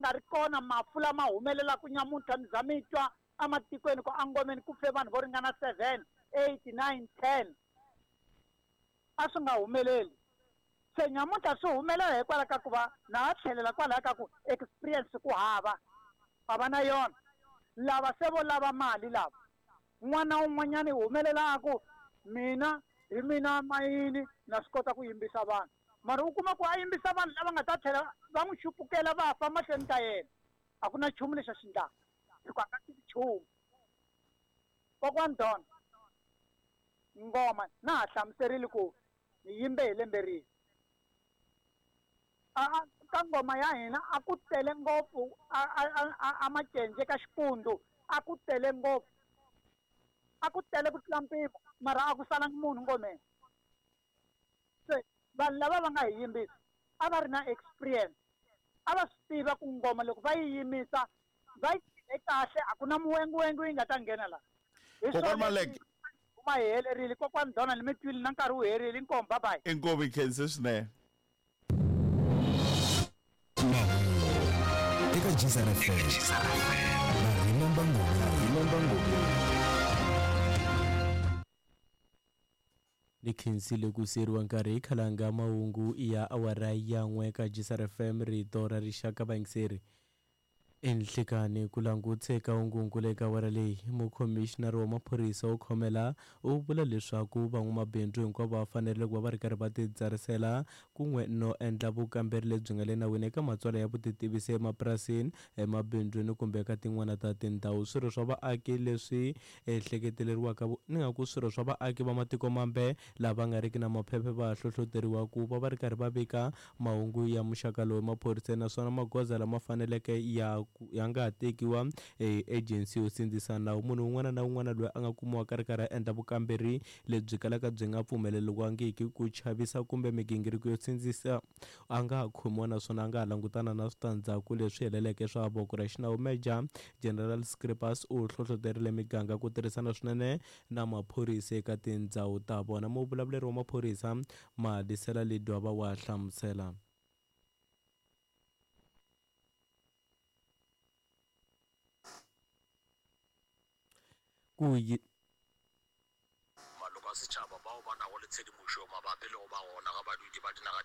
Nga ri kona mafu lama humelelaka nyamuntlha mi za mi twa ematikweni ku engomeni ku fe vanhu vo ringana 7, 8, 9, 10. A swi nga humeleli. Se nyamuntlha swi humelela hikwalaho ka ku va na ha tlhelela kwalaya ka ku experience ku hava, a va na yona. Lava se vo lava mali lava. N'wana un'wanyana i humelela a ku mina hi mina mayini na swi kota ku yimbisa vanhu. Mara u kuma ku a yimbisa vanhu lava nga ta tlhela va n'wi xupukela va fa mahlweni ka yena. A ku na nchumu lexi a xi endlaka hikuva a nga tivi nchumu. Kokwani Don, ngoma na ha hlamuserile ku ni yimbe hi lembe rihi. A a ka ngoma ya hina a ku tele ngopfu a a a a Macenje ka Xipundu a ku tele ngopfu. A ku tele ku tlula mpimo mara a ku salangi munhu ngomeni. Se vanhu lava va nga hi yimbisa a va ri na experience, a va swi tiva ku ngoma loko va yi yimisa va yi tirhe kahle a ku na muwenguwengu yi nga ta nghena laha. Hi Kokwani swona Maleke. Huma hi helerile kokwani Donald mi twile na nkarhi wu herile inkomu bye bye. Inkomu hi khense swinene. Mahungu eka Jizana FM na Remember Ngobeni. Ni khensile ku siyeriwa nkarhi hi khalanga mahungu ya awara ya n'we ka Jisar FM rito ra rixaka vayingiseri. Enhlekani ku langutse ka ungunkulu eka awara leyi, mukhomixinari wa maphorisa wo khomela u vula leswaku van'wamabindzu hinkwavo va fanerile ku va va ri karhi va titsarisela kun'we no endla vukamberi lebyi nga le nawini eka matsalwa ya vutitivisi emapurasini, emabindzwini kumbe eka tin'wana ta tindhawu. Swirho swa vaaki leswi ehleketeleriwaka ni nga ku swirho swa vaaki va matiko mambe lava nga riki na maphephe va hlohloteriwa ku va va ri karhi va vika mahungu ya muxaka lowu emaphoriseni naswona magoza lama faneleke ya ya nga ha tekiwa hi ejensi yo sindzisa nawu. Munhu un'wana na un'wana loyi a nga kumiwaka a ri karhi a endla vukamberi lebyi kalaka byi nga pfumeleriwangiki ku chavisa kumbe migingiriko yo sindzisa a nga ha khomiwa naswona a nga ha langutana na switandzhaku leswi heleleke swa voko ra xinawu. Major General Scripus u hlohloterile miganga ku tirhisana swinene na maphorisa eka tindhawu ta vona. Muvulavuleri wa maphorisa Madisela Ledwaba wa hlamusela. Ku yi Maloko a setšhaba bao ba nago le tshedimošo mabapi le go ba gona ga badudi ba dinaga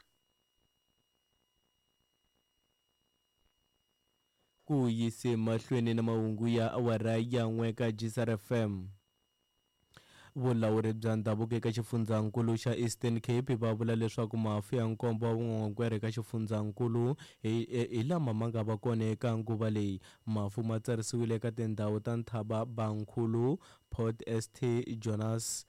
Ku yise mahlweni na mahungu ya awara ya n'we ka Jisar FM. Vulawuri bya ndhavuko eka xifundzankulu xa Eastern Cape va vula leswaku mafu ya nkombo wa vun'wan'wankwere eka xifundzankulu hi, hi lama ma nga va kona eka nguva leyi. Mafu ma tsarisiwile eka tindhawu ta Nthaba Bankhulu, Port St Jonas,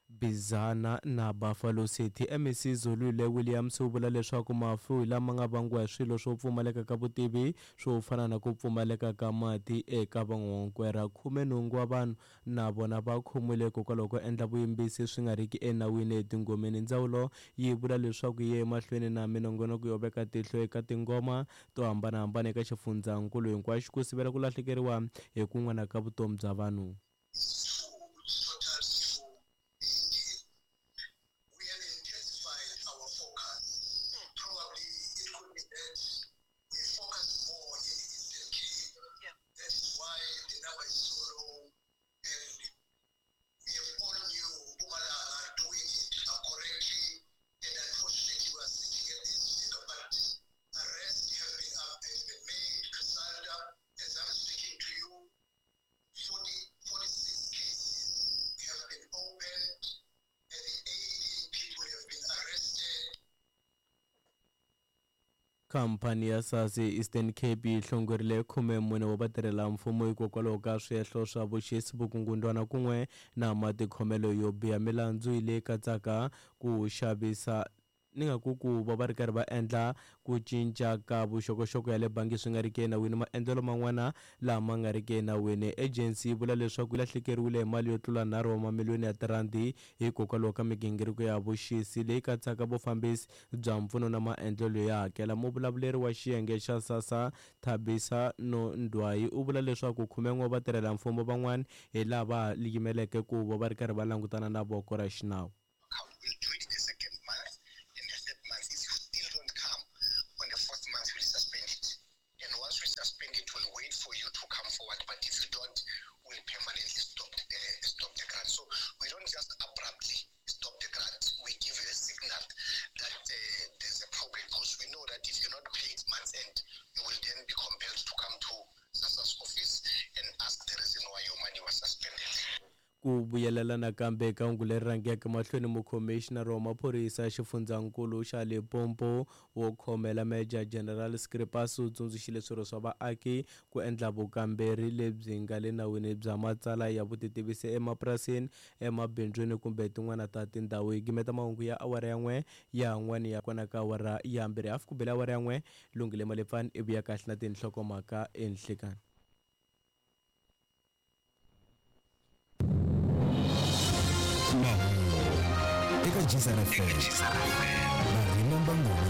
Bizana na Buffalo City. MEC Zolile Williams u vula leswaku mafu hi lama nga vangiwa hi swilo swo pfumaleka ka vutivi swo fana na ku pfumaleka ka mati eka van'wankwera. 18 wa vanhu na vona va khomiwile hikokwalaho ko endla vuyimbisi swi nga riki enawini etingomeni. Ndzawulo yi vula leswaku yi ye emahlweni na minongonoko yo veka tihlo eka tingoma to hambana-hambana eka xifundzankulu hinkwaxo ku sivela ku lahlekeriwa hi kun'wana ka vutomi bya vanhu. Khamphani ya SARS eEastern Cape yi hlongorile 14 wa vatirhela-mfumo hikokwalaho ka swihehlo swa vuxisi, vukungundwana kun'we na matikhomelo yo biha. Milandzu yi leyi katsaka ku xavisa ni nga ku ku va va ri karhi va endla ku cinca ka vuxokoxoko ya le bangi swi nga ri ki enawini, maendlelo man'wana lama nga ri ki enawini. Ejensi yi vula leswaku yi lahlekeriwile hi mali yo tlula nharhu wa mamiliyoni ya tirhandi hikokwalaho ka migingiriko ya vuxisi leyi katsaka vufambisi bya mpfuno na maendlelo yo hakela. Muvulavuleri wa xiyenge xa SASSA, Thabisa Nondwayi u vula leswaku khumen'we wa vatirhela-mfumo van'wana hi lava yimeleke ku va va ri karhi va langutana na voko ra xinawu. suspend it, we'll wait for you to come forward. But if you don't, we'll permanently stop the grant. So we don't just abruptly stop the grant. We give you a signal that there's a problem, because we know that if you're not paid month end, you will then be compelled to come to SASSA's office and ask the reason why your money was suspended. Ku vuyelela nakambe ka hungu leri rhangeke mahlweni, mukhomixinari wa maphorisa xifundzankulu xa Limpopo wo khomela Major General Scripas u tsundzuxile swirho swa vaaki ku endla vukamberi lebyi nga le nawini bya matsala ya vutitivisi emapurasini, emabindzwini kumbe tin'wana ta tindhawu. Hi gimeta mahungu ya awara ya 1 ya n'wani ya kona ka awara ya 2 hafu ku bela awara ya 1. Lunghile Malefani i vuya kahle na tinhlokomhaka enhlekani. Eka Jizana FM na Remember Ngoma.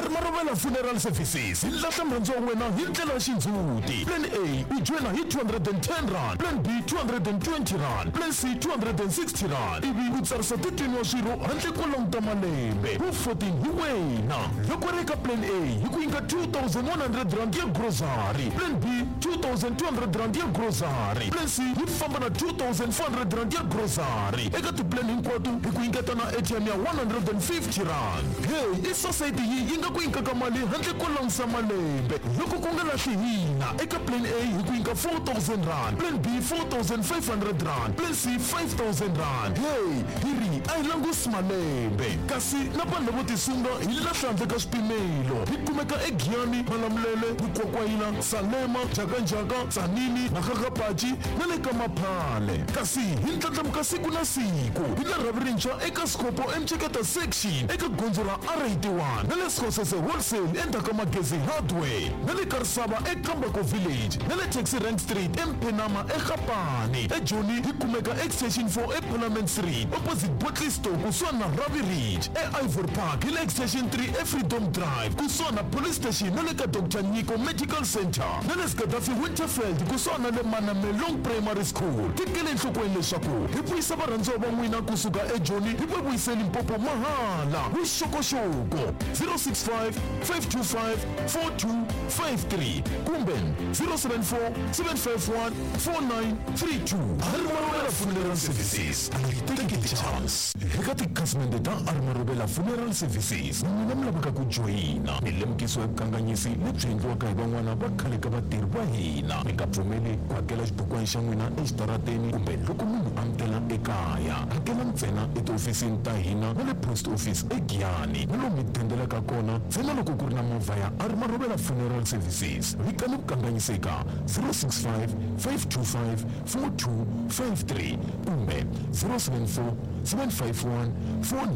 Marobela Funeral Services hi lahla murhandzi wa wena hi ndlela ya xindzhuti. Plan A u joyina hi 210 rand, Plan B 220 rand, Plan C 260 rand, ivi u tsarisa 13 wa swirho handle ko languta malembe. Wu 14 hi wena. Loko ri eka Plan A hi ku nyika 2100 rand ya grocery, Plan B 2200 rand ya grocery, Plan C yi famba na 2400 rand ya grocery. Eka tiplan hinkwato hi ku nyiketa na ATM ya 150 rand. Hey, i society yi nga ku nyikaka mali handle ko langusa malembe. Loko ku nga lahli hina, eka Plan A hi ku nyika 4000 rand, Plan B 4500 rand, Plan C 5000 rand. Hey, hi ri a hi langusi malembe, kasi na vanhu lavo tisunga hi lahla handle ka swipimelo. Hi kumeka eGiyani, Malamulele, Mukwakwayila, Salema, Jakanjaka, Tsanini, Makgakgapachi na le ka Maphale. Kasi hi ndlandlamuka siku na siku hi la rhavi rintshwa eka Scopo eMcheketa section eka gondzo ra R81 na le Skhosese Wholesale endzhaku ka Magezi Hardware na le Karisava eKambako Village na le Taxi Rank Street eMphenama eGapani. eJoni hi kumeka Extension 4 eParliament Street opposite Botley Store kusuhani na Ravi Ridge. E-Ivory Park hi le Extension 3 eFreedom Drive kusuhani na Police Station na le ka Dr Nyiko Medical Center na le Gaddafi Winterfeld kusuhani na le Manamelong Primary School. Tekele enhlokweni leswaku hi vuyisa varhandziwa va n'wina kusuka eJoni hi va vuyise Limpopo mahala. Vuxokoxoko 065 525 4253 kumbe 074 751 4932. Armarobela Funeral Services, a yi teki chance. Eka tikhasimende ta Armarobela Funeral Services, n'wina mi lavaka ku joyina milemukiso ya vukanganyisi lebyi endliwaka hi van'wana va khale ka vatirhi va hina. Mi nga pfumeli ku hakela xibukwana xa n'wina exitarateni kumbe loko munhu a mi tela ekaya. Hakela ntsena etihofisini ta hina na le post office eGiyani na lomu mi dendelaka kona ntsena loko ku ri na movha ya Armarobela Funeral Services. Vikani vukanganyiseka 065 525 4253 kumbe 074 751 49.